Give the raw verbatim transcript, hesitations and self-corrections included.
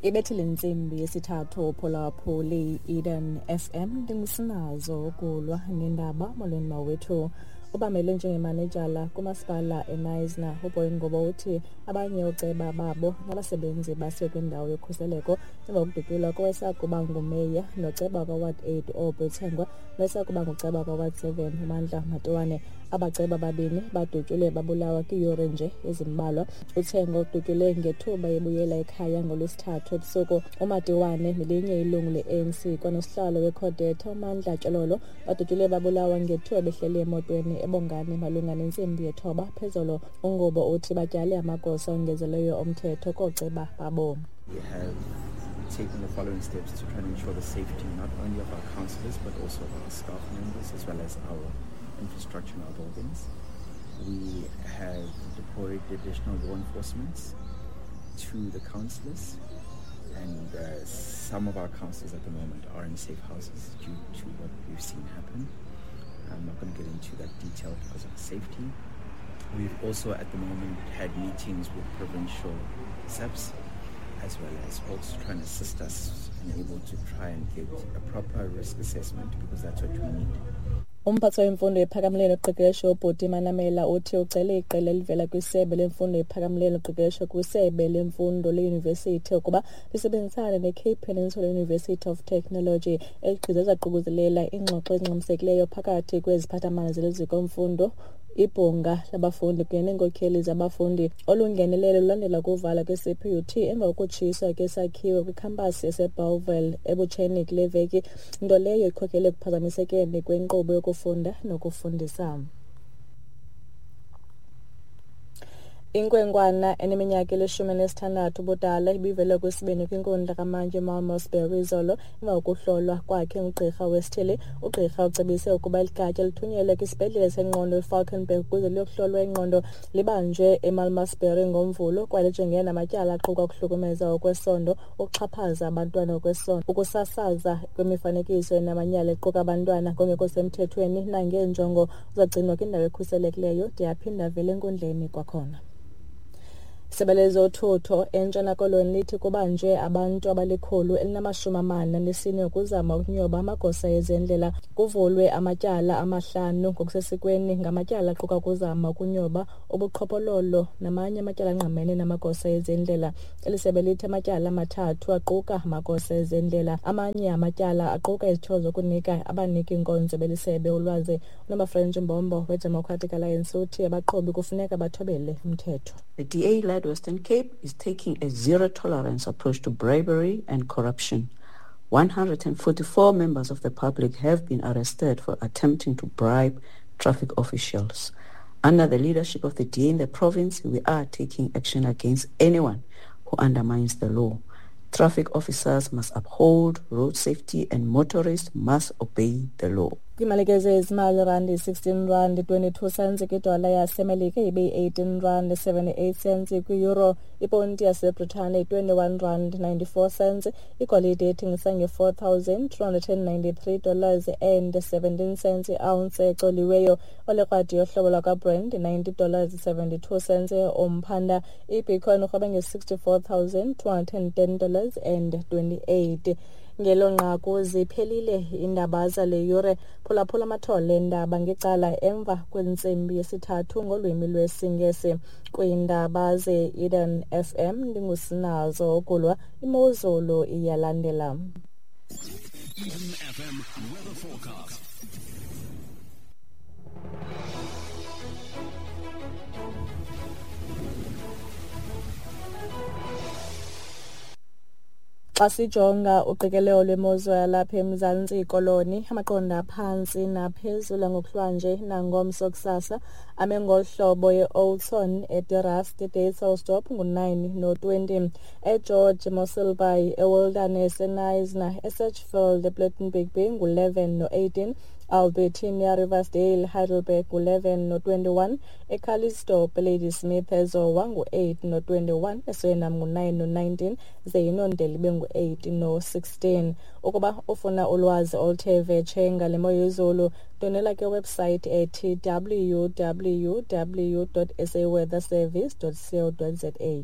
Ibethile intsimbi yesithathu phulaphuli Eden F M ndingusinazo ukulwa nendaba. Molweni mawethu. Ubamele njengemanejala kumasipala eNysna uBoy Ngobo uthi abanye ooceba babo nabasebenzi basiwe kwindawo yokhuseleko emva kokudutyulwa kowayesakuba ngumeya noceba kaWard eight Aubrey Thengwa nowayesakuba nguceba kaWard seven uMandla Matiwane. Abaceba babini badutyulwe babulawa kwiiyure nje ezimbalwa. UThengwa udutyulwe ngethuba ebuyela ekhaya ngoLwesithathu ebusuku. UMatiwane nelinye ilungu le-A N C kwanosihlalo weCodeta uMandla Tshololo badutyulwe babulawa ngethuba behleli emotweni eBongani malunga nentsimbi yethoba phezolo. UNgobo uthi batyale amagosa ongezelelweyo omthetho kooceba babo. We have taken the following steps to try and ensure the safety not only of our councillors but also of our staff members as well as our infrastructure and our buildings. We have deployed additional law enforcement to the councillors, and uh, some of our councillors at the moment are in safe houses due to what we've seen happen. I'm not gonna get into that detail because of safety. We've also at the moment had meetings with provincial S A Ps as well as also trying to assist us and able to try and get a proper risk assessment because that's what we need. Umphathi wemfundo ephakamileyo noqeqesho uBhuti Manamela uthi ucele iqela elivela kwisebe lemfundo ephakamileyo noqeqesho kwisebe lemfundo leyunivesithi ukuba lisebenzisane neCape Peninsula University of Technology. Eli gqiza lizaququzelela iingxoxo ezingxamisekileyo phakathi kweziphathamandla zeliziko mfundo, ibhunga labafundi kunye neenkokheli zabafundi. Olu ngenelelo lulandela ukuvala kwe-C P U T emva kokutshiswa kwesakhiwo kwikhampasi yaseBellville ebutsheni kule veki, nto leyo ikhokelele ekuphazamisekeni kwenkqubo yokufunda nokufundisa. Inkwenkwana eneminyaka elishumi nesithandathu ubudala ibivele kwesibini kwinkundla kamantyi eMalmesbury izolo emva kokuhlolwa kwakhe ngugqirha wesithili. Ugqirha ucebise ukuba eli gatya lithunyelwe kwisibhedlele sengqondo eFalkenberg ukuze liyokuhlolwa ingqondo. Libanjwe eMalmesbury ngoMvulo kwaye lijongene namatyala aquka ukuhlukumeza ngokwesondo, ukuxhaphaza abantwana ngokwesondo, ukusasaza kwemifanekiso enamanyala equka abantwana ngokungekho semthethweni nangeenjongo. Uzagcinwa kwindawo ekhuselekileyo de aphinde avele enkundleni kwakhona. Isebe lezothutho eNtshona Koloni lithi kubanjwe abantu abalikhulu elinamashumi amane anesine ukuzama ukunyoba amagosa ezendlela. Kuvulwe amatyala amahlanu ngokusesikweni ngamatyala aquka ukuzama ukunyoba, ubuqhophololo namanye amatyala angqamene namagosa ezendlela. Eli sebe lithi amatyala amathathu aquka amagosa ezendlela, amanye amatyala aquka izityholo zokunika abaniki-nkonzo belisebe ulwazi. UNomafrench Mbombo weDemocratic Alliance uthi abaqhubi kufuneka bathobele umthetho. The D A-led Western Cape is taking a zero-tolerance approach to bribery and corruption. one hundred forty-four members of the public have been arrested for attempting to bribe traffic officials. Under the leadership of the D A in the province, we are taking action against anyone who undermines the law. Traffic officers must uphold road safety and motorists must obey the law. Kwimalike zezimali, randi sixteen rand twenty-two cents kwidola yaseMelika ibe yi-eighteen rand seventy-eight cents kwi-euro, iponti yaseBritane twenty-one rand ninety-four cents, igolide ethengisa nge-four thousand two hundred and ninety-three dollars and seventeen cents i-ounce ecoliweyo, olekrwadi yohlobo lwakwaBrand ninety dollars seventy-two cents umphanda, iBitcoin urhweba nge-sixty-four thousand two hundred and ten dollars and twenty-eight. Ngelo nqaku ziphelile iindaba zale yure. Phulaphula amathole endaba ngecala emva kwentsimbi yesithathu ngolwimi lwesiNgesi. Kwiindaba ze-Eden F M ndingusinazo ukulwa, imozulu iyalandela. Eden F M weather forecast. Xa sijonga uqikelelo lwemozulu yalapha eMzantsi Koloni, amaqondo aphantsi naphezulu ngokuhlwanje nangomso kusasa ame ngolu hlobo: e-Oudtshoorn, eDerust, eDysselsdorp ngu-nine no-twenty, eGeorge, Mossel Bay, eWilderness, eKnysna, eSedgefield, ePlettenberg Bay ngu-eleven no-eighteen, Albertina, Riversdale, Heidelberg ngu-eleven no-twenty-one, eCalitzdorp, Ladysmith, eZowa ngu-eight no-twenty-one, eSuriname ngu-nine no-nineteen, ze iNondeli ibe ngu-eight no-sixteen. Ukuba ufuna ulwazi oluthe vetshe ngale mo yezulu, ndwendwela ke website ethi w w w dot s a weather service dot co dot z a.